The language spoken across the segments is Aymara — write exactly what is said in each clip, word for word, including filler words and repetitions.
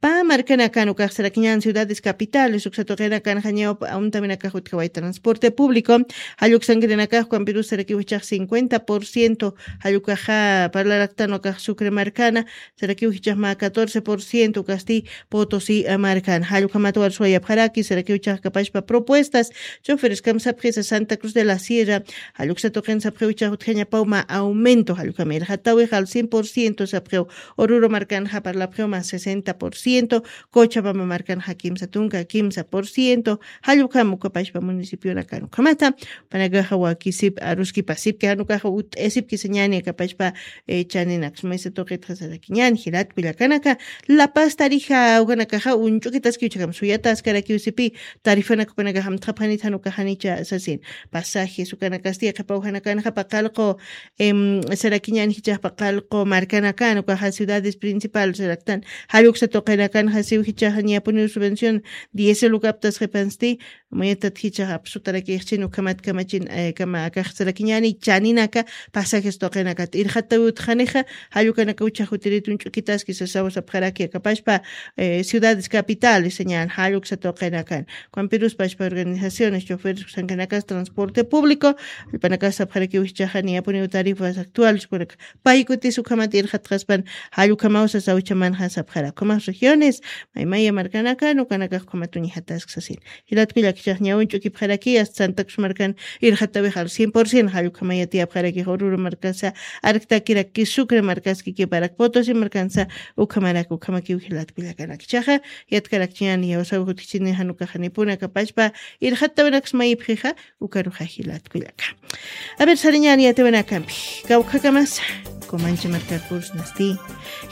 Pä markanakan ukax sarakiñan ciudades capitales uksa tuqinakan jañawpa amtaminakax utjaway transporte público, jalluksankirinakax ukampirus sarakiw jichax cincuenta por ciento, jallukaxa parlaraktan ukax Sucre markana sarakiw jichax mä catorce por ciento ukasti Potosí markana. Jallukhamat warsuwayapxaraki sarakiw jichax kapashpa propuestas, choferes kam sapxisa Santa Cruz de la Sierra, jalluksa tuqin sapxiw jichax utjañapaw mä aumento, jallukham irxatawix al cien por ciento sapxiw. Oruro markanxa parlapxiw mä sesenta por ciento, Cochabamba markanxa kimsa tunka kimsa por ciento, jallukham ukapashpa municipionakan ukhamata. Panakaxa wakisip aruskipasipki janukaxa ut'esipki sañani akapashpa. Chaninaksmaysa tuqitxa sarakiñan jilat kullakanaka. Lapaz tarixa ukanakaxa uñch'ukitaskiw chakam suyataskarakiw sipi, tarifanak upanakaxa amtxapxanit janukaxanicha sasin. Pasajes ukanakasti qhipaw janakanxa paqallqu sarakiñan jichax paqallqu markanakan ukaxa ciudades principales saraktan, jalluksa tuqinakanxa siw jichax ñapuniw subvención diésel ukaptas qhipansti. Mayatat jichax apsutarakixchin ukhamat kamachin kama akax sarakiñani chaninaka pasajes tuqinakat irxatawi utjanixa. Jallukanaka uchax jutirit uñch'ukitaski sasaw sapxaraki akapashpa ciudades capitales sañan jalluksa tuqinakan. Ukampirus pashpa organizaciones choferes uksankanakas transporte público, allpanakas sapxarakiw jichaxa niyapuniw tarifas actuales ukanaka paykutis ukhamat irxatxaspan. Jallukhamaw sasaw chamanxa sapxarak ukhamax regiones maymaya markanakan ukanakax ukhamat uñjatask sasin. Jilat kullaka jichax ñawin ch'ukipxaraki asta Santa Cruz markan irxatawix al cien por ciento, jallukhamaya tiyapxarakix Oruro markasa arktakiraki Sucre markaski kiparak Potosí markansa ukhamarak ukhamakiw jilat kullakanak jichaxa. Yatkarakchiñan yawsaw jutkichini janukaxanipuna kapashpa irxatawinaksmayipxixa. Ukaruxa jilat kullaka. A ver sariñan yatawinakampi kawkhakamasa Comanche markar pursnasti.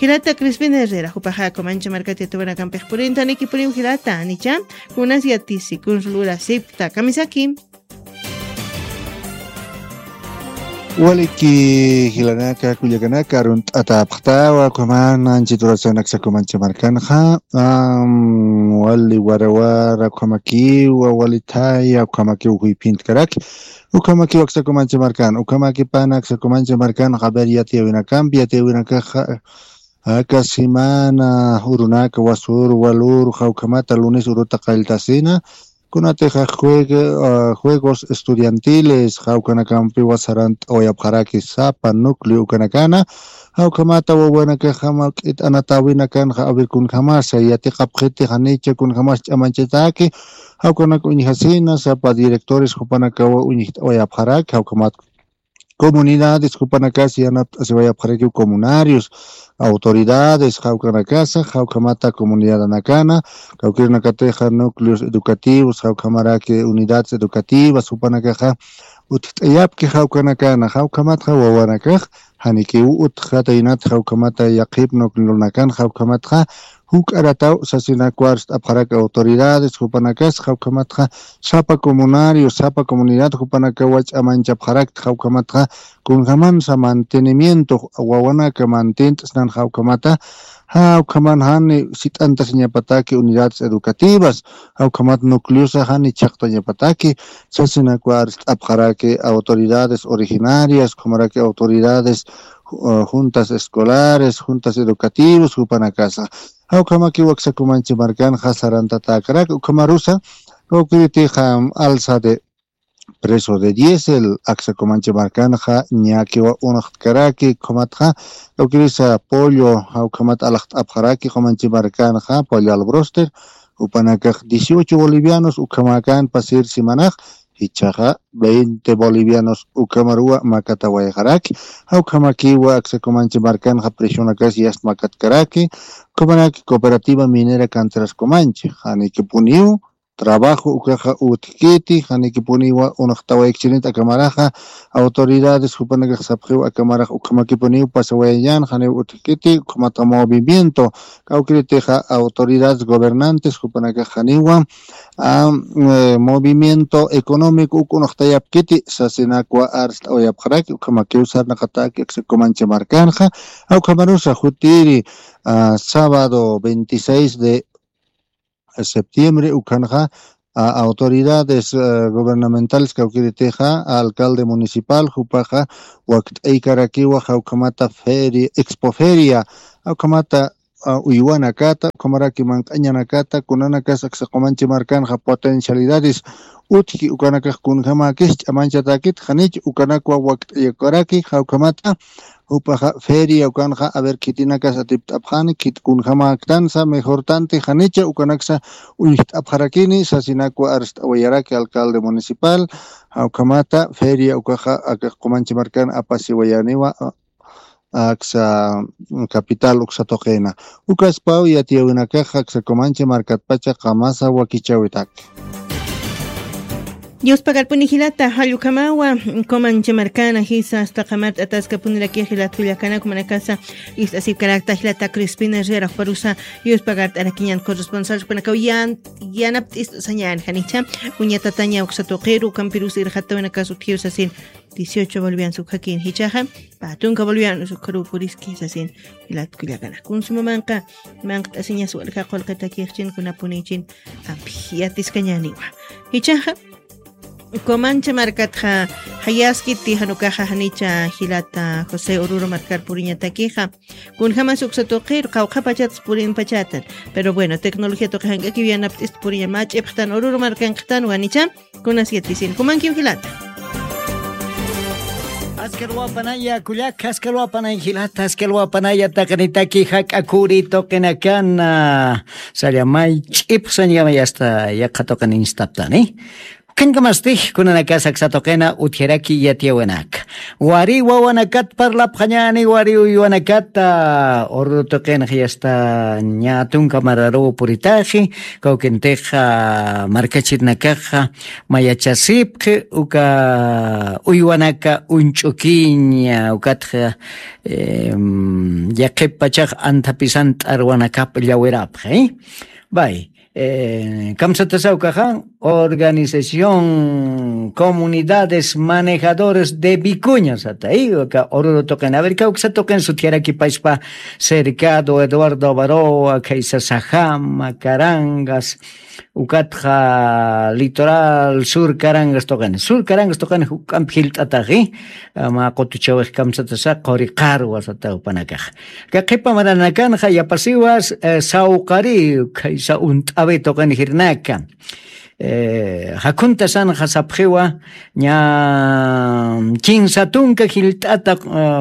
Jilata Crispin Herrera jupaxa Comanche markat yatawinakampix purintanikipuniw jilata anicha. Kunas yatisi kuns lurasipkta kamisaki. Waliki jilanaka kullakanaka arunt'atapxtawa ukhaman anchiturasanaksa Comanche markanxa. Wali warawara ukhamakiwa wali thaya ukhamakiw juyphintkaraki. Ukhamakiw aksa Comanche markan ukhamaki pana aksa Comanche markan jaber yatiyawinakampi yatiyawinakaxa aka semana urunaka wasur walur jawkhamata lunes uruta qalltasina. Kunatixa juegos estudiantiles jawkanakampiwa sarant'awayapxaraki sapa núcleo ukanakana. Jawkhamata wawanakaxama k'it'anatawinakanxa aver kunjamasa yatiqapxiti janicha kunjamas ch'amanchataki. Jawkanak uñjasina sapa directores jupanakawa uñjt'awayapxaraki jawkhamat comunidades jupanakas yanapt'asiwayapxarakiw comunarios, autoridades jawkanakasa jawkhamata comunidadanakana kawkirinakatixa núcleos educativos jawkhamaraki unidades educativas jupanakaxa utjt'ayapki jawkanakana jawkhamatxa wawanakax janikiw utjataynat jawkhamata yaqhip núcleonakan jawkhamatxa juk'arataw sasinakwar st'apxarak autoridades jupanakas jawkhamatxa sapa comunario sapa comunidad jupanakawa ch'amanchapxarakt jawkhamatxa kunjamansa mantenimiento wawanaka mantint'snan jawkhamata jawkhaman jani sit'antasiñapataki unidades educativas jawkhamat nucleosa jani chhaqtañapataki sasinakwar st'apxaraki autoridades originarias ukhamaraki autoridades juntas escolares juntas educativos jupanakasa jawkhamakiw aksa Comanche markanxa sarantatäkarak ukhamarusa kawkiritixa alza de preso de diésel aksa Comanche markanxa ñakiwa unxtkaraki ukhamatxa kawkirisa pollo jawkhamat alaxt'apxaraki Comanche markanxa pollo albroster jupanakax dieciocho bolivianos ukhamakan pasir semanax jichhaxa veinte bolivianos ukhamaruwa makatawayxaraki jawkhamakiwa aksa Comanche markanxa presionakas yast makatkaraki ukhamaraki cooperativa minera canteras Comanche janikipuniw trabajo ukaxa utjkiti janikipuniwa unxtawaykchinit akamaraxa autoridades jupanakax sapxiw akamarax ukhamakipuniw pasawayañan janiw utjkiti ukhamatxa movimiento kawkiritixa autoridades gobernantes jupanakax janiwa movimiento económico uk unxtayapkiti sasinakwa arst'awayapxaraki ukhamakiw sarnaqataki aksa Comanche markanxa jawkhamarusa jutiri sábado veintiséis de septiembre ukhanxa autoridades gubernamentales kawkiritixa alcalde municipal jupaxa wakt'aykarakiwa jawkhamata feria expoferia jawkhamata uywanakata ukhamaraki manq'añanakata kunanakas aksa qumanchi markanxa potencialidades utji ukanakax kunjamäkis ch'amanchatäkit janich ukanakwa wakt'ayakaraki jawkhamata jupaxa feria ukanxa aver khitinakas atipt'apxani khit kunjamäktansa mejortanti janicha ukanaksa uñjt'apxarakini sasinakwa arst'awayaraki alcalde municipal. Jawkhamata feria ukaxa akax qumanchi markan apasiwayaniwa aksa capital uksa tuqina ukaspaw yatiyawinakaxa aksa kumanchi markatpacha qamasa wakichawitaki. Diospagarpuni jilata jallukamawa kumanchi markana jisa asta qamat ataskapuniraki jilat jullakanak manakasa ist'asipkarakta jilata crispina reraxparusa. Diospagart'arakiñan corresponsal panakaw yan yanapt'ist'u sañan janicha uñatataña uksa tuqiru kampirus irxatawinakas utjiw sasin dieciocho bolivianos ukhakin jichaxa patunka bolivianos ukharu puriski sasin. Jilat kullakana kunsumamanqa manqt'asiñas walja qullqitakixchin kunapunichin ampi yatiskañaniwa. Jichaxa comancha markatxa jayaskiti janukaxa janicha jilata josé ururu markar puriñatakixa kunjamas uksa tuqir qawqha pachatsa purinpachatan. Pero bueno tecnología tuqi jank'akiw yanapt'ista puriña mä ch'ipxtan ururu markanqtan wanicha kunas yatisin jumankiw jilata. Askalwapanaya kullak askalwapanay jilata askalwapanaya taqinitaki jak'akuri tuqinakana. Sallamay ch'ipxsañamay asta yaqha tuqin instaptani. Ukhañkamasti kunanakas aksa tuqina utjaraki yatiyawinaka wari wawanakat parlapxañani wari uywanakata ururu tuqinxa yasta ña tunka mararuw puritaxi kawkintixa markachirinakaxa mayachasipxi uka uywanaka uñch'ukiña ukatxa yaqhip pachax anthapisan t'arwanakap llawirapxi. Bay kamsatasa ukaxa organización comunidades manejadores de vicuña sata uka ururu tuqin aver kawksa tuqin sutjaraki payspa cercado eduardo avaroa khaysa sajama carangas ukatxa litoral sur carangas tuqin sur carangas tuqin juk'ampi jilt'ataxi. Mä qutuchawix kamsatasa quri qarwa sata jupanakax. Ka qhipa maranakanxa yapasiwas sawqari khaysa unt'awi tuqin jirnaka jakhuntasanxa sapxiwa ña kinsa tunka jilt'ata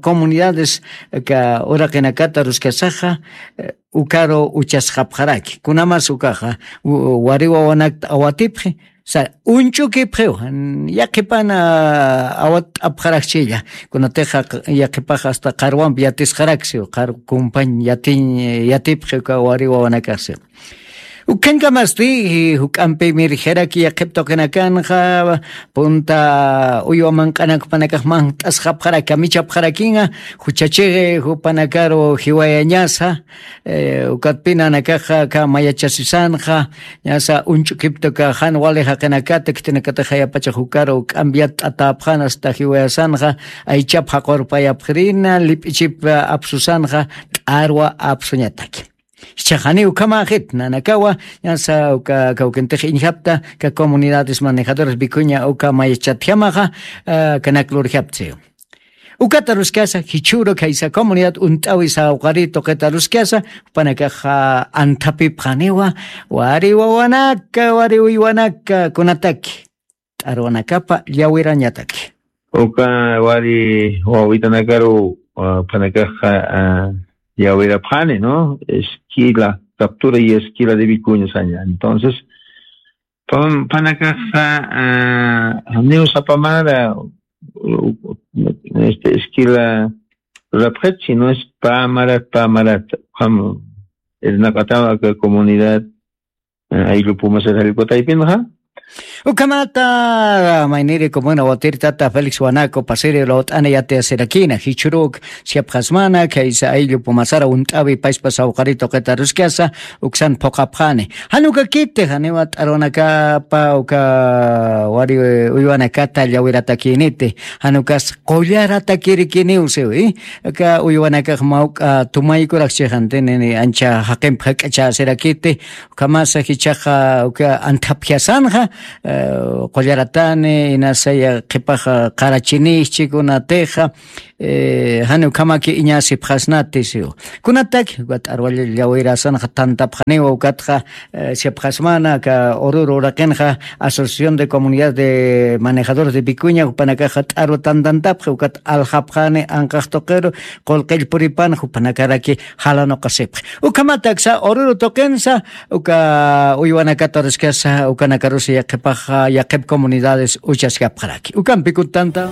comunidades uraqinakata ruskasaxa ukaru uchasxapxaraki kunamas ukaxa wari wawanakta awatipxi uñch'ukipxiw yaqhipan awatt'apxarakchilla. Kunatixa yaqhipax asta qarwampi yatisxaraksiw qar kumpañ yatiñ yatipxi uka wari wawanakaxsiw. Ukhankamasti juk'ampi mirjaraki yaqhip tuqinakanxa punta uywa manq'anakpanakax manqt'asxapxaraki kamichapxarakinxa juchachixi jupanakaru jiwayañasa. Ukatpinanakaxa ka mayachasisanxa ñasa uñch'ukiptuka jan wali jaqinakata khitinakatax jayapachax jukaru k'ambiat t'atapxan asta jiwayasanxa aychap jaqurpayapxirina lip'ichip apsusanxa t'arwa apsuñataki. Jichhaxani ukhamaxit nanakawa ñasa uka kawkintix iñjapta ka comunidades manejadoras vicuña uka mayachatjamaxa kanak lurjaptsiw. Ukata ruskasa jichhüru khaysa comunidad unt'awi sawqari tuqita ruskasa jupanakaxa anthapipxaniwa wari wawanaka wari uywanaka kunataki t'arwanakapa llawirañataki. Uka wari wawitanakaru jupanakaxa llawirapxani no esquila captura y esquila de vicuña saña entonces jupanakaxa janiw sapamara este esquila rurapxit sino es pamarat pamarat ukham irnaq'ataw aka comunidad ayllu pumasar jallkutaypinxa. Ukhamata mayniri comuna watirtata félix wanaku pasiri lawt'ana yatiyasirakina jichhüruk siyapxasmana khaysa ayllu pumasara unt'awi payspa sawqari tuqita ruskasa uksan phuqapxani. Jan ukakiti janiwa t'arwanakapa uka wari uywanakata llawiratakiniti jan ukas qullaratakirikiniw siwi. Uka uywanakax mawk'a tumaykurak chixantini ancha jaqimp jak'achasirakiti ukhamasa jichhaxa uka anthapjasanxa. eh, qullaratani, inasaya qhipaxa qarachinixchi kunatixa, eh, jani ukhamaki iñasipxasnati siw. Kunataki, ukat t'arwa llawirasanxa tantapxaniwa, ukatxa, eh, sipxasmana, aka Oruro uraqinxa Asociación de Comunidades de Manejadores de Vicuña, jupanakaxa t'arwa tantantapxi, ukat aljapxani anqax tuqiru, qullqill puripan, jupanakaraki jalanuqasipxi. Ukhamat aksa Oruro tuqinsa, uka uywanakata uriskasa, ukanakarusa yaqhipaxa, yaqhip comunidades uchaskapxaraki. Ukampi kuttanta.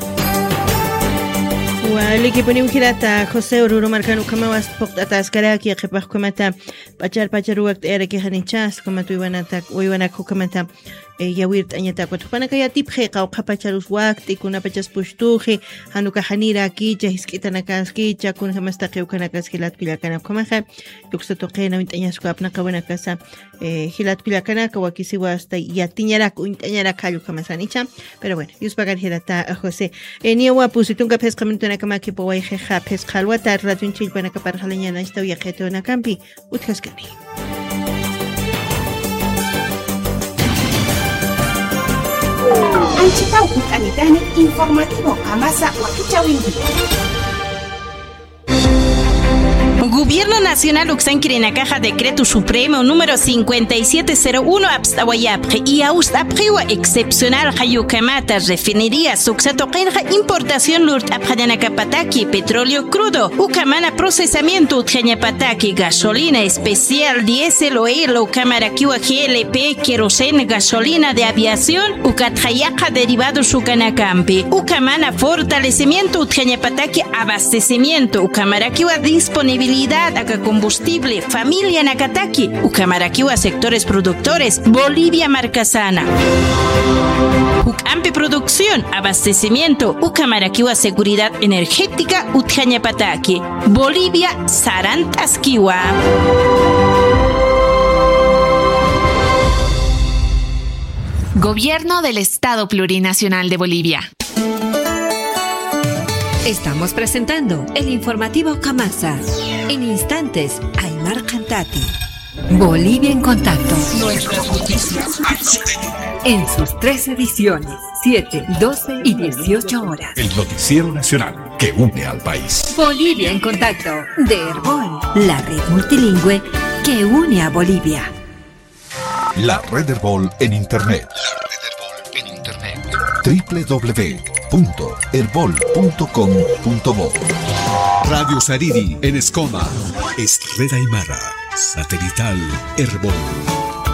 Walikipuniw jilata José, Oruro markan ukhamaw ast phuqt'ataskaraki, yaqhipax ukhamata p'achar p'achar wakt'ayarakixa nichas, ukhamat uywanatak, uywanak ukhamata, eh, yawirt'añatak. Ukat jupanaka yatipxi, qawqha pacharus wakt'i, kunapachas pustuxi, jan uka janirakicha, jisk'itanakaskicha, kunjamas taqi ukanakas jilat kullakanaka ukhamaxa, yuksa tuqina uñt'añasku apnaqawanakasa, eh, jilat kullakanaka, wakisiwa hasta yatiñarak, uñt'añarak jall ukhamasanicha. Pero bueno, yuspagar jilata José. Eh, niyawa pusi tunka phisqa minutunakamakipawayxixa, phisqa alwata, radion chillpanakaparxalañanachtaw yaqhitunakampi utjaskani. Anchitaw utanitani informativo Qamasa wakichawinki. Gobierno Nacional uksankirinakaxa Decreto Supremo número cincuenta y siete cero uno apst'awayapxi, iyawst'apxiwa excepcional jall ukhamata refinería suksa tuqinxa importación lurt'apxañanakapataki petróleo crudo, ukhamana procesamiento utjañapataki gasolina especial, diésel, oil, ukhamarakiwa G L P, queroseno, gasolina de aviación, ukatxa yaqha derivados ukanakampi, ukhamana fortalecimiento utjañapataki abastecimiento, ukhamarakiwa disponibilidad aka combustible familianakataki, ukhamarakiwa sectores productores Bolivia markasana. Juk'ampi producción, abastecimiento, ukhamarakiwa seguridad energética utjañapataki. Bolivia sarant'askiwa. Gobierno del Estado Plurinacional de Bolivia. Estamos presentando el informativo Qamasa. En instantes, Aymar Cantati. Bolivia en contacto. Nuestras noticias. En sus tres ediciones, siete, doce y dieciocho horas. El noticiero nacional que une al país. Bolivia en contacto, de Erbol, la red multilingüe que une a Bolivia. La red Erbol en internet. La red Erbol en internet. W W W punto erbol punto com punto bo. Radio Sariri en Escoma. Es red aymara. Satelital Erbol.